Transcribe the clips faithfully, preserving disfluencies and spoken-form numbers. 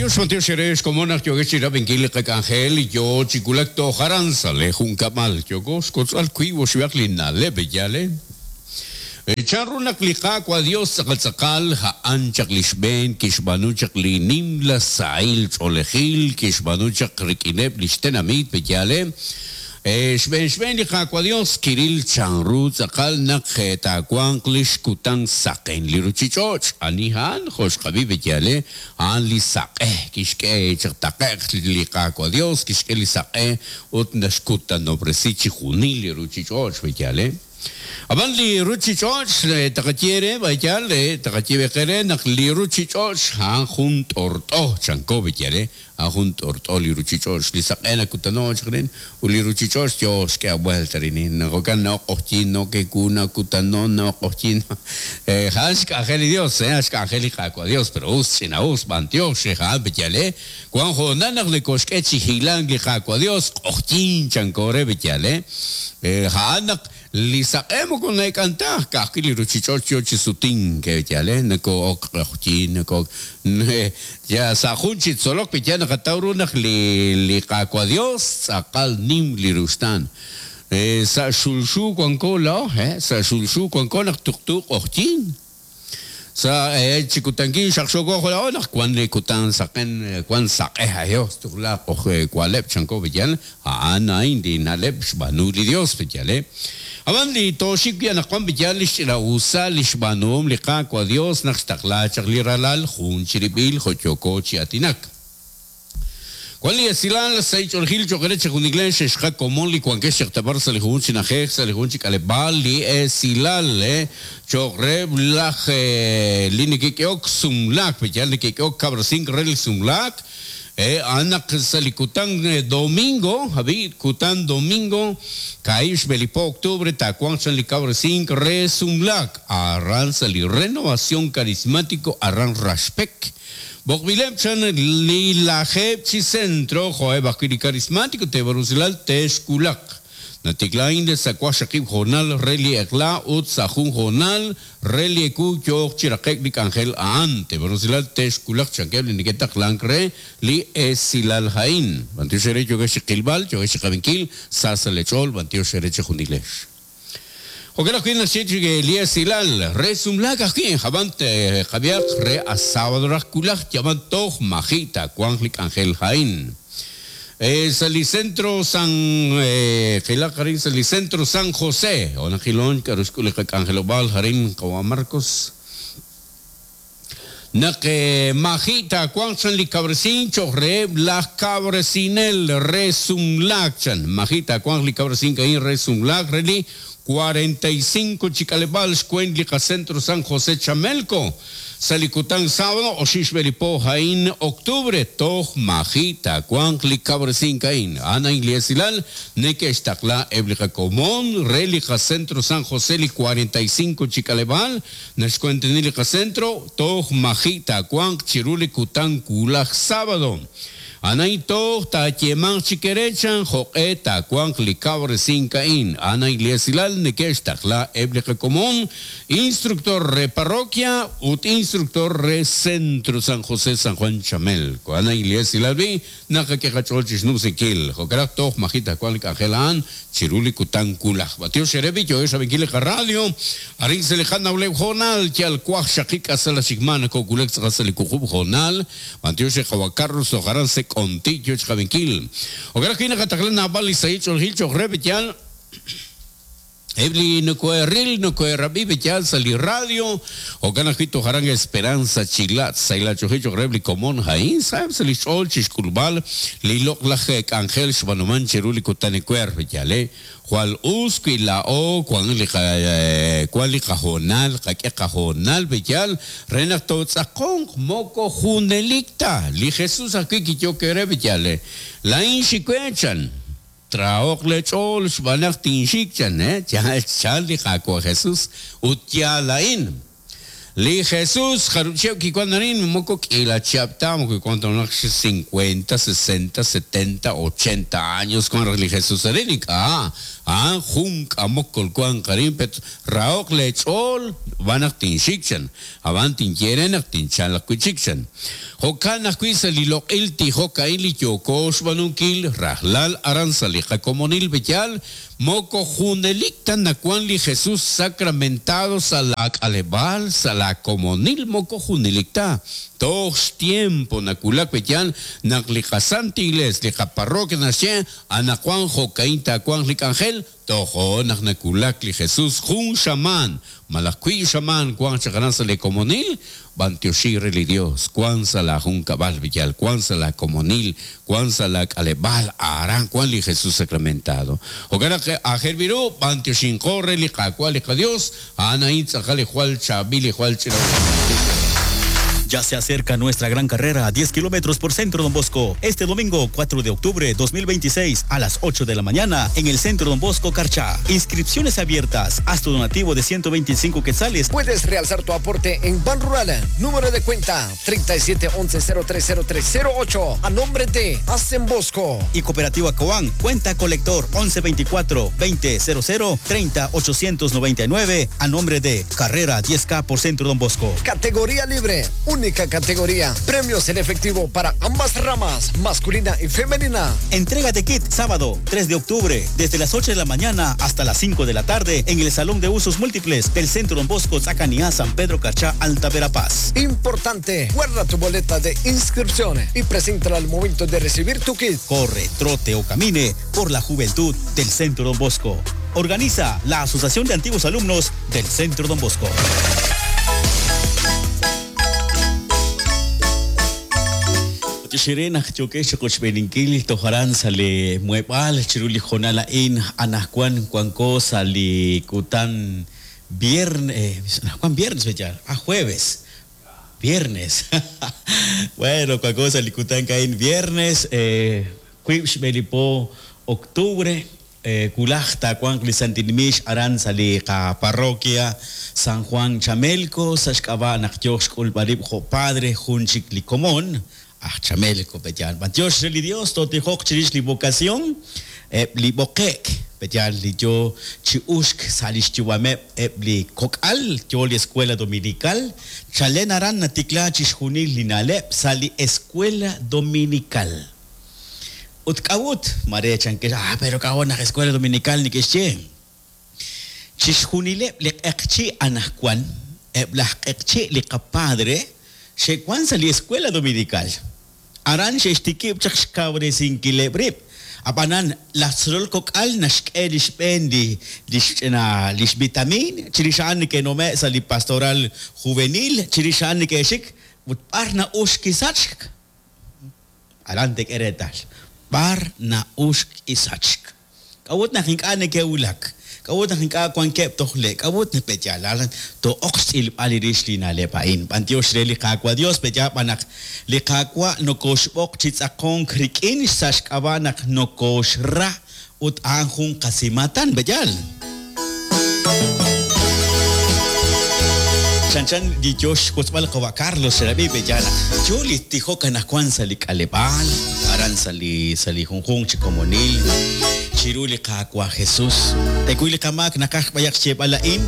Bantiox, bantiox eres komonaq yogex chirab'inkil li qak'anjel yo chikulak tojaran sale junkamal yoko xkotz'al kwi oxib'aq li na'leb' yale. Chan ru naq li Qaawa' Dios tz'aqal tz'aqal a'an chaq li xb'een kixb'aanu chaq li nimla sahil ch'oolejil kixb'aanu chaq rik'ineb' li xtenamit yale. Xb'een xb'een li Qaawa' Dios kiril chan ru tz'aqal naq taawanq li xkutan saqen li ruchich'och' ani a'an jo' xqab'i yale a'an li saq'e kixk'e chaq taqe'q li Qaawa' Dios kixk'e li saq'e ut naxkutanob'resi chi junil li ruchich'och' yale. Ab'an li ruchich'och' taqaye re bayal taqaye beqere naq li ruchich'och' a'an jun t'ort'o chanko yale a'an jun t'ort'o li ruchich'och' li saq'e nakutanoch rin ut li ruchich'och' yo xk'e vuelta rin jo'kan no q'oqyin no kekuna kutano no q'oqyin a'an xk'anjel li Dios a'an xk'anjel li Qaawa' Dios pero us ch'ina us b'antiox a'an yale wan jo'nan naq nekoxk'e chi hilank li Qaawa' Dios q'oqyin chanko re yale a'an naq li saq'e moko naek'antaj ka'ajwi' li ruchich'och' yo chi sutin ke yale nako ok q'oqyin nako ya sa' jun chi tzolok ya naqataw ru naq li li Qaawa' Dios tz'aqal nim li ruxtaan sa' xulxu wanko laa'o sa' xulxu wanko naq tuqtu q'oqyin sa chikutankin xaqxoko laa'o naq wan li kutan saqen wan saq'e ayo tuqla q'oj waleb' chanko yal a'an a'in li na'leb' xb'aanu li Dios yale. Ab'an li toxik wi' anaqwan yal li xch'ina'usa li xb'aanuhom li Qaawa' Dios naq xtaqla chaq li ralal jun chirib'il jo' yoko chi atinak. Wan li esilal sa' ich'oolejil cho'q re chi juniklen xexqa komon li wankex chaq tabar sa' li jun chi na'ajej sa' li jun chi k'aleb'aal li esilal cho'q re laj li nekek'ehok sumlaak yal nekek'ehok kab'resink re li sumlaak a'an naq sa' li kutan domingo abi kutan domingo kaib' xb'elipo octubre taawanq chan li kab'resink re sumlaak aran sa' li Renovación Carismático aran Raxpek Bokbileb chan li lajeb' chi centro jo'eb' ajwi' li carismático tebarusilal texkulaq natiklain de sa' waqxaqib' jonal re li eq'la ut sa' jun jonal re li eku yooq chi raqe'k li k'anjel a'an tebarusilal texkulaq chankeb' li neke'taqlank re li esilal ha'in b'antiox ere yokex chi qilb'al yokex chi qab'inkil sa' sa' lech'ool b'antiox ere chi junilex. Jo'kan ajwi' naxye chi li esilal re sumlaak ajwi' ab'an qab'iaq re a sábado raj kulaj yab'an toj maji' taawanq li k'anjel ha'in. Sa' li centro San qilaq arin sa' li centro San José o naqilon k'aru xk'ul li qak'anjelob'aal arin qawa' Marcos naq maji' taawanq chan li kab'resin cho'q reheb' laj kab'resinel re sumlaak chan maji' taawanq li kab'resin a'in re sumlaak re li cuarenta y cinco chi k'aleb'aal xkwent li qacentro San José Chamelco sa' li kutan sábado oxib' xb'elipo ha'in octubre toj maji' taawanq li kab'resink a'in a'an a'in li esilal neke'xtaqla eb' li qakomon re li qacentro San José li cuarenta y cinco chi k'aleb'aal naxkuenteni li qacentro toj maji' taawanq chiru li kutan kulaj sábado Anay toj taayemanq chi kerechan jo'q'e taawanq li kab'resink a'in a'an a'in li esilal neke'xtaqla eb' li qakomon instructor re parroquia ut instructor re centro San José San Juan Chamelco a'an a'in li esilal bi naqak'e qach'ool chi xnumsinkil jo'kan toj maji' taawanq li k'anjel a'an chiru li kutan kulaj b'antiox ere bi yo'ex rab'inkil li qaradio arin sa' li qanawleb' jonal yal waqxaqib' k'asal xikman ko'kulek tz'aqal sa' li wuqub' jonal b'antiox re qawa' Carlos tojaran se konti yo xqab'inkil jo'kan ajwi' naqataqla naab'al li sahil ch'oolejil cho'q re yal eb' li nokoeril nokoerab'i yal sa' li radio jo'kan ajwi' tojaran Esperanza Chilat sahil ch'oolejil cho'q re li komon ha'in sa'eb' sa' li xch'ool chi xk'ulb'al li loq'laj k'anjel xb'aanuman chiru li kutan ewer yale jwal us wi laa'o wan li wan li qajonal qak'e qajonal yal re naq tootz'aqonq moko junelik ta li Jesús ajwi' kiyok re yale la'in xiwechan traoq lech'ool xb'aan tinxik chan eh chal li Qaawa' Jesús ut yaal a'in Li Jesús jarub' chihab' kiwan arin moko k'iila chihab' ta moko kiwan ta naq cincuenta, sesenta, setenta, ochenta años wan raj li Jesús arin ink'a' a'an jun k'amok kolwanq arin pet rahoq leech'ool b'an naq tinxik chan ab'an tinye re naq tinchalaq wi' chik chan jo'kan ajwi' sa' li loq'il tijok a'in li yooko xb'aanunkil rajlal aran sa' li qakomonil b'eyal moko junelik ta nawan li Jesús sacramentado sa' la k'aleb'aal sa' la komonil moko junelik ta toj xtiempo nakulak b'eyal naq li qaSanta Iglesia li qaparroquia naxye anaqwan jo'kain taawanq li k'anjel tojo naq nakulak li Jesús jun xamaan malaj wiib' xamaan wanq chaq aran sa' li komonil b'antioxi re li Dios wan sa' la junkab'al b'eyal wan sa' la komonil wan sa' la k'aleb'aal aran wan li Jesús sacramentado jo'kan naq aajel b'iru b'antioxinqo re li Qaawa' li qaDios a'an a'in tz'aqal li jwal chaab'il li jwal ch'ina. Ya se acerca nuestra gran carrera a diez kilómetros por Centro Don Bosco. Este domingo cuatro de octubre dos mil veintiséis a las ocho de la mañana en el Centro Don Bosco Carchá. Inscripciones abiertas. Haz tu donativo de ciento veinticinco quetzales. Puedes realzar tu aporte en Banrural. Número de cuenta treinta y siete once cero tres cero tres cero ocho a nombre de Hacen Bosco. Y Cooperativa Coan, cuenta colector once veinticuatro veinte cero cero treinta ochocientos noventa y nueve a nombre de Carrera diez K por Centro Don Bosco. Categoría libre. Única categoría. Premios en efectivo para ambas ramas, masculina y femenina. Entrega de kit sábado tres de octubre desde las ocho de la mañana hasta las cinco de la tarde en el Salón de Usos Múltiples del Centro Don Bosco, Zacaniá, San Pedro Carchá, Alta Verapaz. Importante, guarda tu boleta de inscripción y preséntala al momento de recibir tu kit. Corre, trote o camine por la juventud del Centro Don Bosco. Organiza la Asociación de Antiguos Alumnos del Centro Don Bosco. Xirena yokex qochb'eninkil tojaran sale mueb'al chiruli jonala in anajkuan kuanko sali kutan viernes anajkuan viernes bella a jueves viernes bueno kuanko sali kutan kain viernes eh kuibx belipo octubre eh kulajta kuan lisantinimix aran sali ka parroquia San Juan Chamelco saxk'aba naq yox k'ulb'arib jo padre junchik likomon Ah, Chamelco, petyal. Bantiox li Dios, totijok chirix li vocación, eb li boqek, petyal li yo chiushk salix chiwameb, eb li kok'al, yo li escuela dominical, chalen aran natikla chixjunil li naleb, sali escuela dominical. Ut k'awut, mare chankex, ah, pero k'awut naj escuela dominical ni kexche. Chixjunileb li q'eqchi anajkuan, eb laj q'eqchi li qapadre, xe'wan sa li escuela dominical. Aran xe'xtikib' chaq xkawresinkileb' rib'. Ab'anan laj tzolol kok'al naxk'e lix b'een li lix ch'ina lix vitamin, chirix a'an neke'nome' sa li pastoral juvenil, chirix a'an neke'xik ut b'ar na'ux kisachk. Aran tek'e reetal. B'ar na'ux kisachk. K'a'ut naq ink'a' neke'wulak. K'a'ut naq ink'a' wankeb' tojle', k'a'ut naq petyalal to'oq xtz'ilb'al li rix li na'leb' a'in. B'antiox re li Qaawa' Dios, petyal b'an naq li Qaawa' nokoxb'oq chi tz'aqonk rik'in sa' xk'ab'a' naq nokoxra ut a'an jun qasimatan, petyal. Chan chan li yox xwotzb'al qawa' Carlos xerab'i petyal naq yo li tijok anajwan sa' li k'aleb'aal, aran sa' li sa' li junjunq chi komonil. Chiru li Qaawa' Jesús. Tekuy li qamaak naqaj b'ayaq xyeeb'al a'in.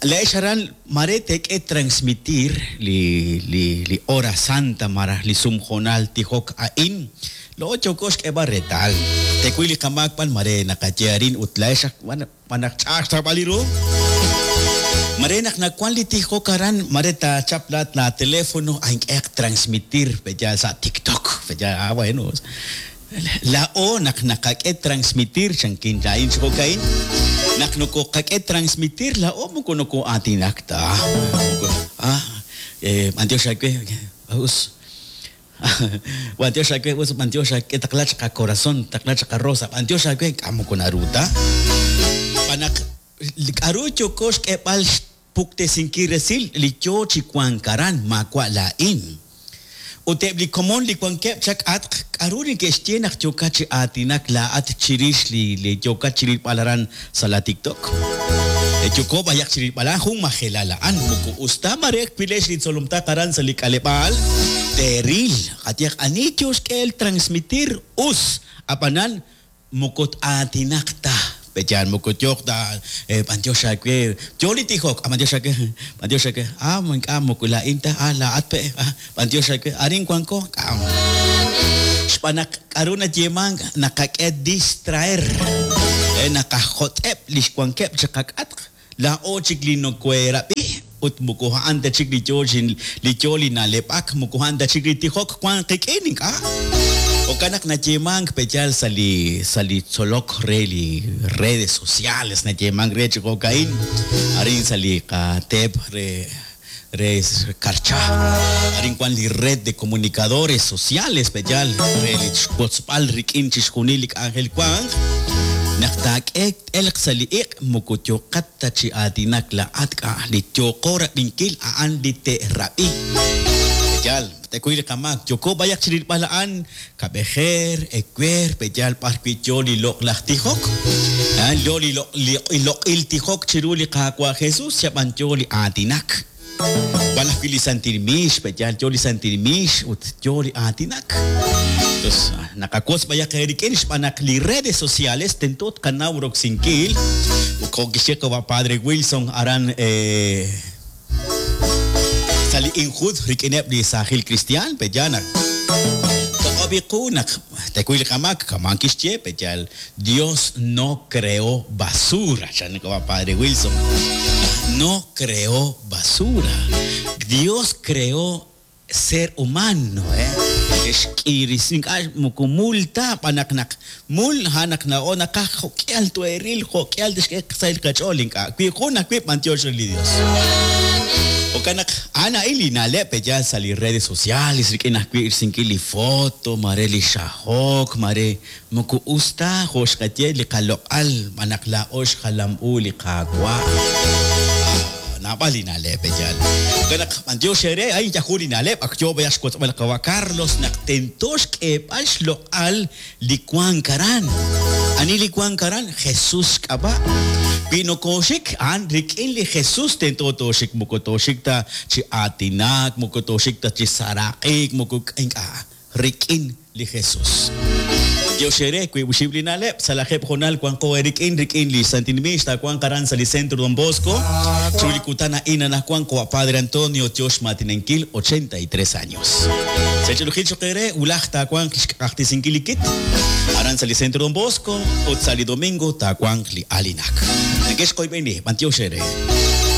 La'ex aran mare tek'e transmitir li li li hora santa maraj li sumjonal tijok a'in. Lo ocho kox k'eb'a retal. Tekuy li qamaak b'an mare naqaye arin ut la'ex b'anaq ch'ax tab'al ru. Mare naq nakuan li tijok aran mare ta chaplat la teléfono ank'eq transmitir peya sa TikTok. Peya ah bueno. La o nak nakak'e transmitir chankin lain xokain nak noko kak'e transmitir la o moko noko atinakta ah eh antioxa que us antioxa que us antioxa que taqlach qa corazón taqlach qa rosa antioxa que k'amo con aruta panak k'aru yokox k'eb'al puktesinki resil li yo chikuankaran makwa la in. Ut eb' li komon li wankeb' chak'atq k'aru neke'xye naq yookat chi aatinak laa'at chirix li li yookat chi rilb'al aran sa' la TikTok. Yoko b'ayaq chi rilb'al a'an jun majelal a'an moko us ta mare kwilex li tzolomtaq aran sa' li k'aleb'aal teeril qayehaq ani yo xk'el transmitir us ab'anan moko aatinaq ta peyan moko yooq ta b'antiox aawe yo li tijok b'antiox aawe b'antiox aawe ah ink'a' moko laa'in ta ah laa'at pe ah b'antiox aawe arin wanko k'a xb'aan naq k'aru nayeemank naqak'e distraer naqajot'eb' li xwankeb' chiqak'atq laa'o chik li nokoherab'i ut moko a'an ta chik li yo li yo li na'leb'ak moko a'an ta chik li tijok wank qik'in ink'a' Jo'kan naq nayeemank peyal sa' li sa' li tzolok re li redes sociales nayeemank re chi jo'ka'in arin sa' li qateep re re Karcha arin wan li red de comunicadores sociales peyal re li xwotzb'al rik'in chixjunil li k'anjel wank naq taak'e t'elq sa' li iq' moko yooqat ta chi aatinak laa'at k'a li yooqo rab'inkil a'an li te'rab'i peyal tekuy li qamak yoko b'ayaq chi rilb'al a'an kab'ejer ewer peyal b'ar wi' yo li loq'laj tijok yo li loq'il tijok chiru li Qaawa' Jesus xab'an yo li aatinak wan ajwi' li santil miix peyal yo li santil miix ut yo li aatinak entonces naqawotz b'ayaq eerik'in xb'aan naq li redes sociales tento tqanaw roksinkil jo' kixye qawa' Padre Wilson aran eh, sa' li injud rik'ineb' li saajil cristian peyal naq toq'ob'iqu naq tekuy li qamak kaman kixye peyal Dios no creó basura chan qawa' Padre Wilson no creó basura Dios creó ser humano eh xk'iris ink'a' moko mul ta b'anaq naq mul ha naq na'o naqaj jo'k'ial tueril jo'k'ial tixk'e sa' li qach'ool ink'a' wi jun ajwi' b'antiox re li Dios Jo'kan naq a'an a'in li na'leb' peyal sa' li redes sociales rik'in ajwi' risinkil li foto mare li xajok mare moko us ta jo' xqaye li qaloq'al b'anaq laa'o xjalam u li Qaawa' naab'al li na'leb' peyal jo'kan naq b'antiox eere ay yaju li na'leb' ak yo b'ayaq xwotzb'al qawa' Carlos naq tento xk'eeb'al xloq'al li wank aran ani li wank aran Jesús xk'ab'a' wi nokoxik a'an rik'in li Jesús tento tooxik moko tooxik ta chi aatinak moko tooxik ta chi saraq'ik moko ink'a' rik'in li Jesús Dios ere wi uxib' li na'leb' sa' lajeb' jonal wanqo erik'in rik'in li Santil Miix taawanq aran sa' li Centro Don Bosco chu li kutan a'in anaqwan qawa' Padre Antonio tiox maatinenkil ochenta y tres años Sech'ulujil choqere ulaj taawanq xk'ajtisinkil li kit aran sa' li Centro Don Bosco ut sa' li domingo taawanq li alinak nekex qoyb'eni b'antiox ere.